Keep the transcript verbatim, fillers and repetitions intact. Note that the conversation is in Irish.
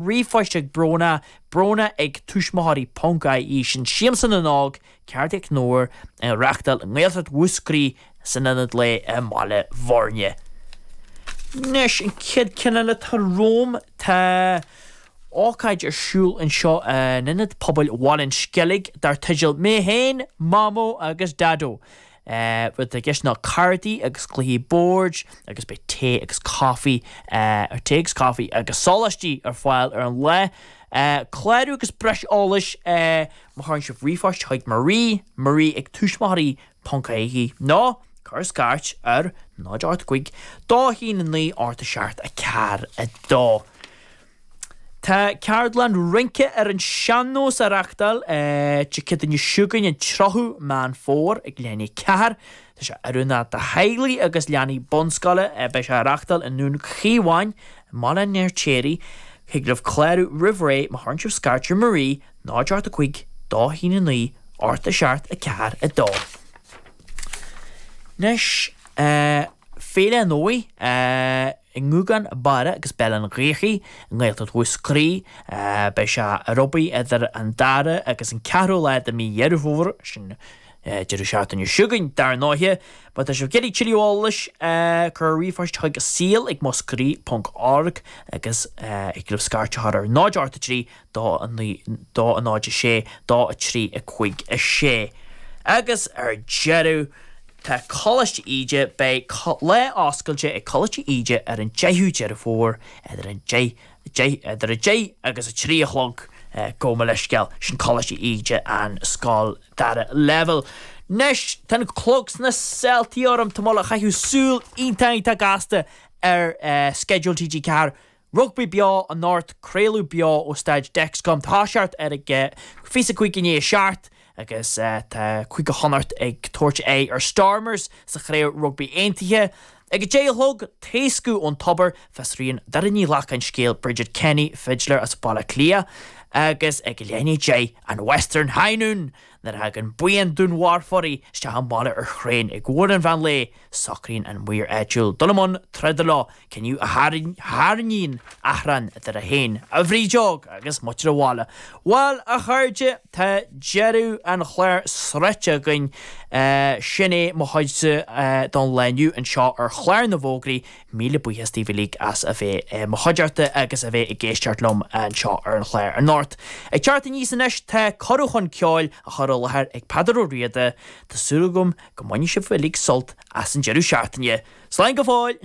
ríomhphost ag Bróna, Bróna ag tuismitheoirí ponc ie sin Siamsa na nÓg, ceathrú don uair á reáchtáil i nGaeltacht Mhúscraí san Ionad Lae i mBaile Bhuirne. Anois an chéad cheann eile atá romham tá ócáid ar siúl anseo in Ionad Pobail Bhaile an Sceilg dar teideal Mé Féin, Mamó agus Daideo. Rud i gceist ná cártaí agus cluichí boird agus beidh tae agus caife tae agus caife agus sóláistí ar fáil ar an lá. Clárú agus breis eolais má chuireann sibh ríomhphost chuig Marie, Marie ag tuismitheoirí ponc ie nó cuir scairt ar náid ocht cúig dó haon a naoi ocht a seacht a ceathair a dó. Tá ceardlann rince ar an sean-nós á reáchtáil Dé Céadaoine seo chugainn an tríochadú Meán Fómhair ag leath i ndiaidh a ceathair. Tá sé oiriúnach do theaghlaigh agus leanaí bunscoile beidh sé á reáchtáil i nDún Chíomháin, i mBaile an Fheirtéaraigh. Thig libh clárú roimh ré má chuireann sibh scairt ar Marie náid ocht a cúig dó haon a naoi ocht a seacht a ceathair a dó. Anois Féile an Fhómhair i nGúgán Barra agus Béal an Ghaorthaidh i nGaeltacht Mhúscraí. Beidh sé ar obair idir an dara agus an ceathrú lá de mí Dheireadh Fómhair sin deireadh seachtaine seo chugainn dar ndóighe. Má tá sibh ag iarraidh tuilleadh eolais cuir ríomhphost chuig saol ag muscraí ponc org agus thig libh scairt a chur ar náid ocht a trí dó a naoi dó a náid a sé dó a trí a cúig a sé. Agus ar deireadh tá Coláiste Íde beidh lá oscailte ag Coláiste Íde ar an deichiú Deireadh Fómhair idir an deich deich idir a deich agus a trí a chlog gabh mo leithscéal sin Coláiste Íde an scoil dara leibhéal. Anois tá an clog sna seoltaí orm tá mé ag caitheamh súil iontach iontach gasta ar sceideal TG Ceathair. Rugbaí beo anocht craoladh beo ó Staid Dexcom tá seart ar ag fiche cúig i ndiaidh a seacht agus tá Cúige Chonnacht ag tabhairt aghaidh ar Stormers sa chraobh rugbaí aontaithe. Ag a deich a chlog taoscadh ón tobar fiosraíonn Doireann Ní Ghlacáin scéal Bridget Kenny fidléir as Baile Átha Cliath agus ag leath i ndiaidh a deich an Western High Noon nuair a thagann buíon dúnmharfóirí isteach an baile ar thraein ag uair an mheán lae socraíonn an maor áitiúil dul i mbun troda leo cinneadh a tharraingíonn achrann idir é féin, a bhrídeog agus muintir an bhaile. Bhuel a chairde tá deireadh an chláir sroichte againn sin é mo chuidse don lá inniu anseo ar chlár na bhfógraí míle buíochas daoibh uilig as a bheith mo chuideachta agus a bheith ag éisteacht liom anseo ar an chlár anocht. Ag teacht aníos anois tá cuireadh chun ceoil á chur i láthair ag Peadar Ó Riada, Tá súil agam go mbainfidh sibh uilig sult as an deireadh seachtaine. Slán go fóill!